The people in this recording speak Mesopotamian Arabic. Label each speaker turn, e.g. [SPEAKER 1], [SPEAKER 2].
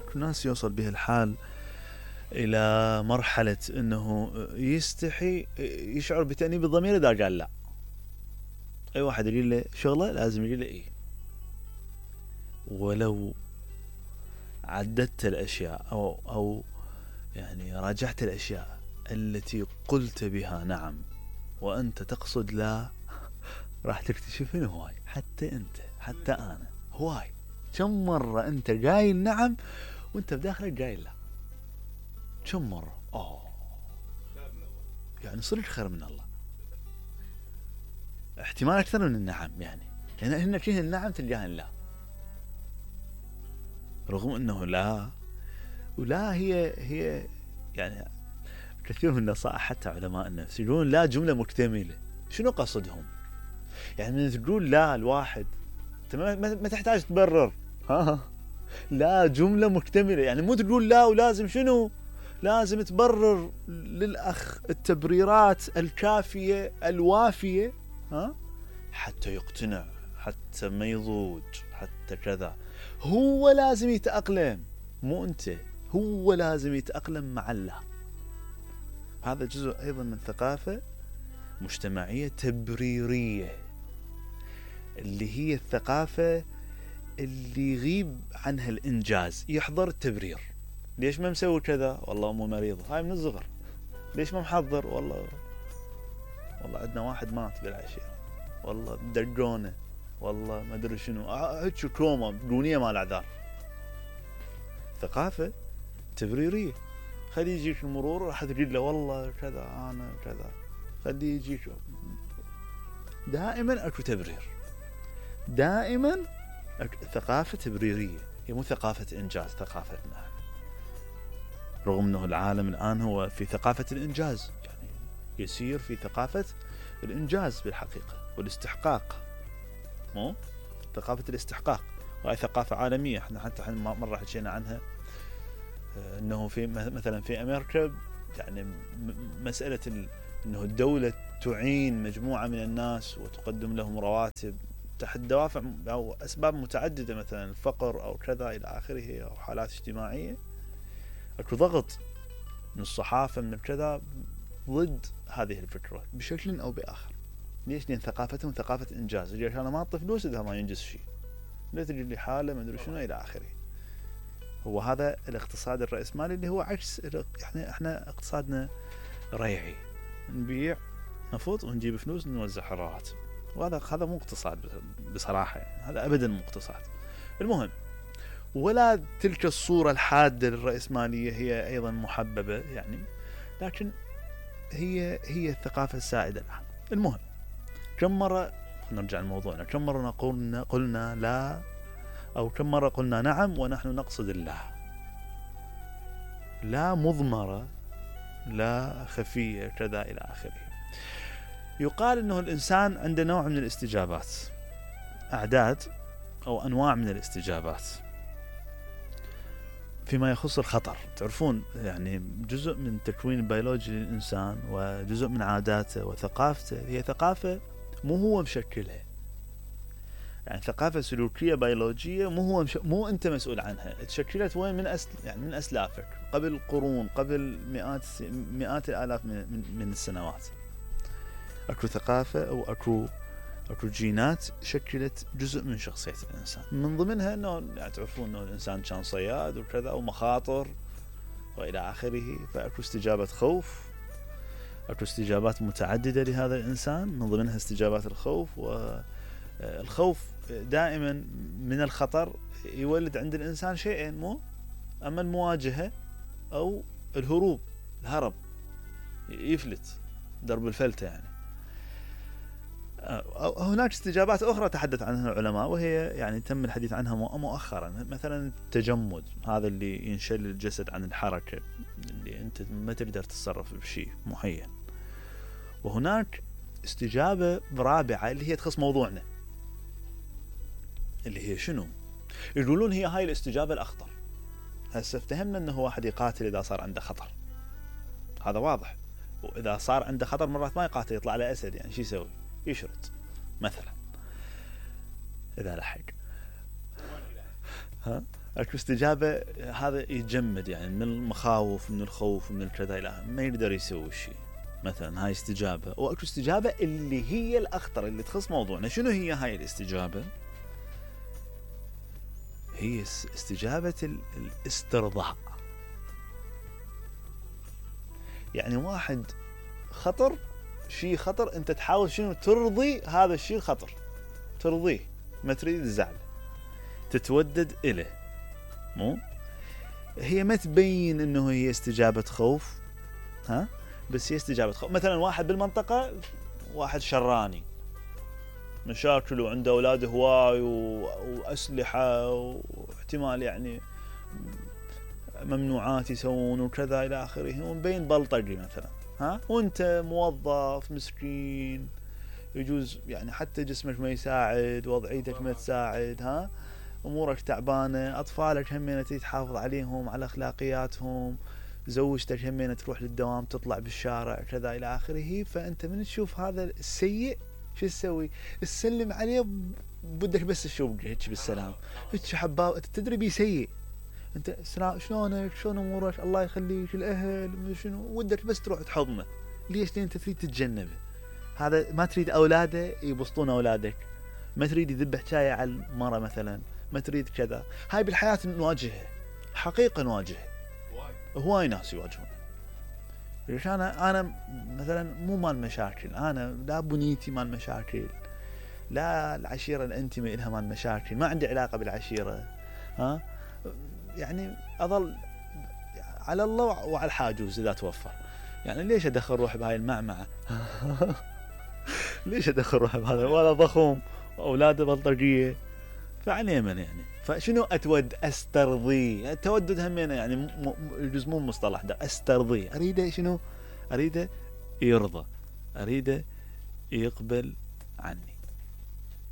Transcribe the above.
[SPEAKER 1] اكو ناس يوصل به الحال الى مرحلة انه يستحي يشعر بتأنيب الضمير اذا قال لا. اي واحد يقول له شغله لازم يقول له ايه، ولو عددت الاشياء او يعني راجعت الاشياء التي قلت بها نعم وانت تقصد لا، راح تكتشف انه هواي، حتى انت حتى انا هواي كم مرة انت قايل نعم وانت بداخلك قايل لا، كم مرة. يعني صدق خير من الله، احتمال اكثر من النعم، يعني هنا فيه النعم تلقاها لا، رغم انه لا ولا هي يعني كثير من النصائح حتى علماء النفس يقولون لا جملة مكتملة. شنو قصدهم؟ يعني من تقول لا الواحد انت ما تحتاج تبرر، لا جملة مكتملة، يعني مو تقول لا ولازم شنو، لازم تبرر للأخ التبريرات الكافية الوافية حتى يقتنع، حتى ما يضوج، حتى كذا. هو لازم يتأقلم، مو انت، هو لازم يتأقلم مع الله. هذا جزء ايضا من ثقافة مجتمعية تبريرية، اللي هي الثقافة اللي يغيب عنها الإنجاز، يحضر التبرير. ليش ما مسوي كذا؟ والله أمه مريضة، هاي من الصغر. ليش ما محضر؟ والله عندنا واحد مات بالعشاء، والله دقونه، والله ما أدري شنو، هيك كوما دونية مال أعذار. ثقافة تبريرية. خلي يجيك المرور راح تقول له والله كذا أنا كذا، خلي يجيك. دائما أكو تبرير، دائما ثقافة تبريرية، هي مو ثقافة إنجاز. ثقافة رغم أنه العالم الآن هو في ثقافة الإنجاز، يعني يسير في ثقافة الإنجاز بالحقيقة والاستحقاق، مو ثقافة الاستحقاق، وهي ثقافة عالمية. احنا حتى مرة حكينا عنها، أنه في مثلا في أمريكا يعني مسألة أنه الدولة تعين مجموعة من الناس وتقدم لهم رواتب تحت دوافع أو أسباب متعددة، مثلا الفقر أو كذا إلى آخره، أو حالات اجتماعية. أكو ضغط من الصحافة من كذا ضد هذه الفكرة بشكل أو بآخر. ليش؟ لأن ثقافتهم ثقافة إنجاز. ليش أنا ما أعطي فلوس إذا ما ينجز شيء، لا تجد لي حالة ما أدري شنو إلى آخره. هو هذا الاقتصاد الرأسمالي اللي هو عكس، يعني إحنا اقتصادنا ريعي، نبيع نفط ونجيب فلوس نوزع رواتب، وهذا مو اقتصاد بصراحة، يعني هذا أبدا مو اقتصاد. المهم، ولا تلك الصورة الحادة للرأسمالية هي أيضا محببة يعني، لكن هي الثقافة السائدة الآن. المهم، كم مرة نرجع لموضوعنا، كم مرة قلنا لا، أو كم مرة قلنا نعم ونحن نقصد الله؟ لا مضمرة، لا خفية كذا إلى آخره. يقال أنه الإنسان عنده نوع من الاستجابات، أعداد أو أنواع من الاستجابات فيما يخص الخطر. تعرفون يعني جزء من تكوين البيولوجي للإنسان وجزء من عاداته وثقافته هي ثقافة مو هو مشكلها، يعني ثقافة سلوكية بيولوجية مو أنت مسؤول عنها، تشكلت وين؟ من أسلافك قبل قرون، قبل مئات الآلاف من السنوات. أكو ثقافة أو أكو جينات شكلت جزء من شخصية الإنسان، من ضمنها أنه يعني تعرفون أنه الإنسان كان صياد وكذا ومخاطر وإلى آخره، فأكو استجابة خوف، أكو استجابات متعددة لهذا الإنسان، من ضمنها استجابات الخوف. والخوف دائما من الخطر يولد عند الإنسان شيئين، مو أما المواجهة أو الهروب، الهرب، يفلت، درب الفلتة يعني. هناك استجابات أخرى تحدث عنها العلماء، وهي يعني تم الحديث عنها مؤخرا، مثلا التجمد، هذا اللي ينشل الجسد عن الحركة، اللي أنت ما تقدر تتصرف بشيء معين. وهناك استجابة رابعة اللي هي تخص موضوعنا، اللي هي شنو؟ يقولون هي هاي الاستجابة الأخطر. هسه افتهمنا أنه واحد يقاتل إذا صار عنده خطر، هذا واضح. وإذا صار عنده خطر مرات ما يقاتل، يطلع على أسد، يعني شو يسوي؟ يشرد مثلا إذا لحق. اكو استجابة هذا يتجمد يعني من المخاوف من الخوف من الكذا الى ما يقدر يسوي شيء مثلا، هاي استجابة. واكو استجابة اللي هي الاخطر اللي تخص موضوعنا. شنو هي هاي الاستجابة؟ هي استجابة الاسترضاء. يعني واحد خطر، شيء خطر، انت تحاول شنو ترضي هذا الشيء الخطر، ترضيه، ما تريد تزعل، تتودد إليه. مو هي ما تبين انه هي استجابة خوف، ها، بس هي استجابة خوف. مثلا واحد بالمنطقة، واحد شراني، مشاكل وعنده اولاد هواي واسلحة واحتمال يعني ممنوعات يسوون وكذا الى اخره، ومبين بلطجي مثلا، ها، وانت موظف مسكين يجوز يعني حتى جسمك ما يساعد، وضعيتك ما تساعد، ها، امورك تعبانه، اطفالك همين تريد تحافظ عليهم على اخلاقياتهم، زوجتك همين تروح للدوام تطلع بالشارع كذا الى اخره. فانت من تشوف هذا السيء شو تسوي؟ تسلم عليه، بدك بس تشوف هيك بالسلام، هيك حباب، انت تدري بيه سيء، انت شلونك، شلون امورك، الله يخليك، الاهل شنو، ودك بس تروح تحضنه. ليش؟ لان انت تريد تتجنبه. هذا ما تريد اولاده يبسطون اولادك، ما تريد يذب حكايه على المرة مثلا، ما تريد كذا. هاي بالحياه نواجهها، حقيقه نواجهها، هواي ناس يواجهون. ليش انا مثلا مو مال مشاكل، انا لا بنيتي مال مشاكل، لا العشيره الانتمي لها مال مشاكل، ما عندي علاقه بالعشيره، ها، يعني اظل على الله وعلى الحاجوز اذا توفر. يعني ليش ادخل روحي بهاي المعمعه؟ ليش ادخل روحي بهذا؟ ولا ضخم واولاده بلطجيه، فعلى يمن يعني. فشنو استرضي؟ التودد همينه يعني يجوز مو مصطلح ده، استرضي، اريده شنو؟ اريده يرضى، اريده يقبل عني.